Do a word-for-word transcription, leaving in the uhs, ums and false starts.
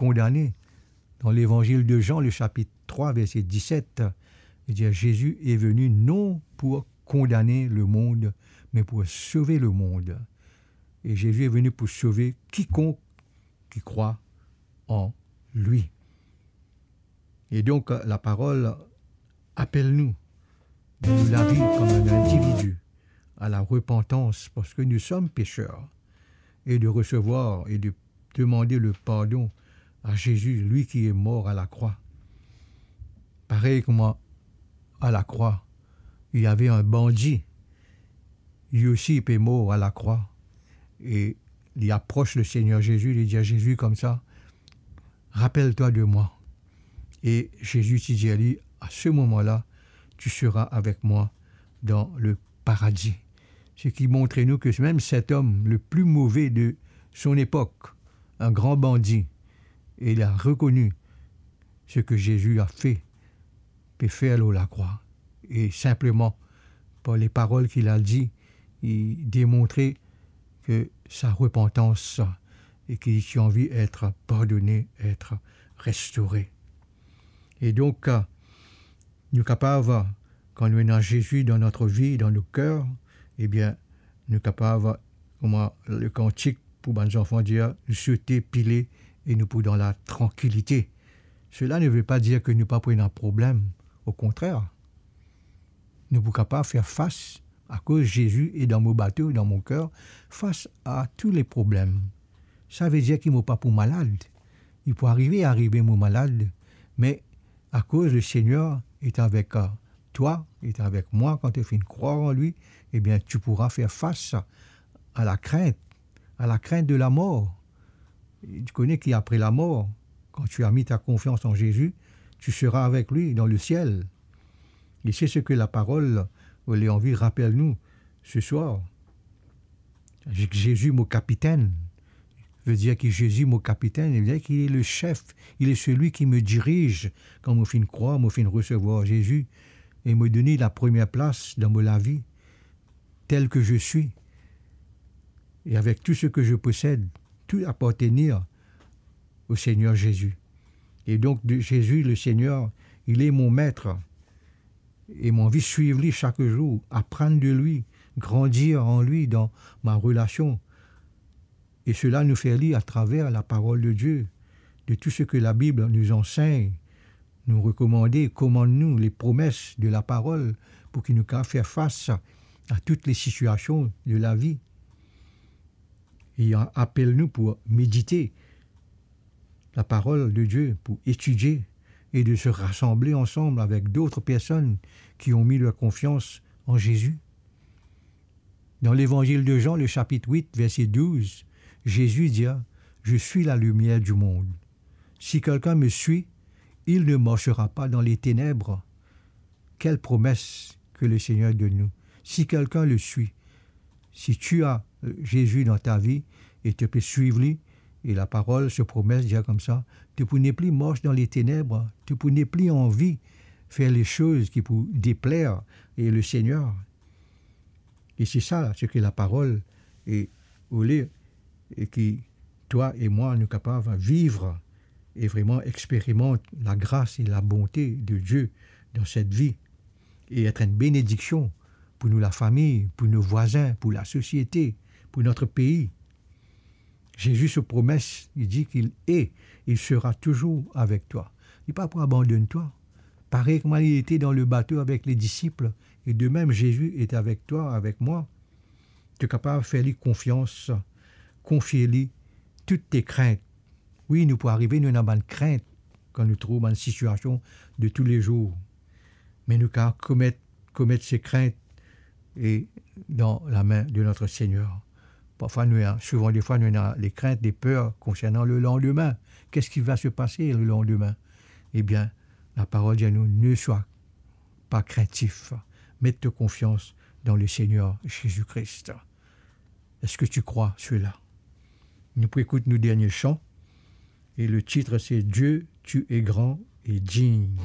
kondane. Dan Levanzil de Zan, le sapit trwa, verse diset, li dir, Jésus est venu non pour condamner le monde, mais pour sauver le monde. Et Jésus est venu pour sauver quiconque qui croit en lui. Et donc, la parole appelle nous, de nous laver comme un individu à la repentance, parce que nous sommes pécheurs, et de recevoir et de demander le pardon à Jésus, lui qui est mort à la croix. Parey kouma à la croix, il y avait un bandit, li osi pe mor à la croix, e li apros le Seigneur Jésus, li dir Jésus koumsa, rappelle-toi de moi. Et Jésus ti dir li, à ce moment-là, tu seras avec moi dans le paradis. Ce qui montre nous que même cet homme le plus mauvais de son époque, un grand bandit, il a reconnu ce que Jésus a fait, pe fer lor lakrwa. E sinpleman, par les paroles qu'il a dit, li demontre que sa repentance, e ki li ti anvi et pardone, et restore. E donk, nou kapav, kan nou ena Zezi dan notre vie, dan nou ker, ebien, nou kapav, kouma le kantik pou bann zanfan dir, nou sote, pile, e nou pou dan la trankilite. Cela ne veut pas dire que nou pa pou ena problem. Au contraire, nou pou kapav fer fas, akoz Zezi est dans mon bateau, dans mon cœur, face à tous les problèmes. Sa ve dir ki mo pa pou malad. Li pou arive, arive mo malad, me akoz le Seigneur est avec, euh, toi, est avec moi, quand tu fini krwar an li, ebien, tu pourras faire face à la crainte, à la crainte de la mort. Tu connais qu'après la mort, quand tu as mis ta confiance en Jésus, tu seras avec lui dans le ciel. Et c'est ce que la parole, euh, li anvi rapel nou ce soir. Jésus, mon capitaine. Veut dire que Jésus, mon capitaine, veut dire qu'il est le chef, il est celui qui me dirige. Kan mo fini krwar, mo fini resevwar Zezi, e mo donn li la première place dans mon lavi, tel que je suis, et avec tout ce que je possède, tout appartenir au Seigneur Jésus. Et donc, de, Jésus, le Seigneur, il est mon maître. E mo anvi swiv li sak zour, aprann de lui, grandir en lui dans ma relation. Et cela nous fait lire à travers la parole de Dieu, de tout ce que la Bible nous enseigne, nous recommande, commande nous, les promesses de la parole, pour que nous puissions faire face à toutes les situations de la vie. Il appelle nous pour méditer la parole de Dieu, pour étudier et de se rassembler ensemble avec d'autres personnes qui ont mis leur confiance en Jésus. Dans l'évangile de Jean, le chapitre huit, verset douze, Jésus dit, je suis la lumière du monde. Si quelqu'un me suit, il ne marchera pas dans les ténèbres. Quelle promesse que le Seigneur donne nous. Si quelqu'un le suit, si tu as, euh, Jésus dans ta vie et tu peux suivre lui, et la parole, ce promesse, dit comme ça, tu peux ne plus marcher dans les ténèbres, tu peux ne plus envie faire les choses qui pour déplaire et le Seigneur. Et c'est ça ce que la parole est, au lieu, et que toi et moi, nous capables vivre et vraiment expérimenter la grâce et la bonté de Dieu dans cette vie et être une bénédiction pour nous, la famille, pour nos voisins, pour la société, pour notre pays. Jésus se promet, il dit qu'il est, il sera toujours avec toi. Il n'est pas pour abandonner toi. Parey kouma li ete dan le bato avek le disip, e de mem Zezi ete avek twa, avek mwa, to kapav fer li konfians, konfie li tout to krint. Wi, nou pou arive, nou ena bann krint kan nou trouv bann sitiasion de toulezour. Me nou kapav komet, komet se krint e dan lame de notre Seigneur. Parfwa nou ena, souvan defwa nou ena le krint, le per konsernan le landime. Qu'est-ce qui va se passer le lendemain? Ebien, laparol dir nou, ne sois pas craintif. Met to konfians dan le Seigneur Jésus-Christ. Est-ce que tu crois cela? Nou pou ekout nou dernie san, e le tit se Dieu, tu es grand et digne.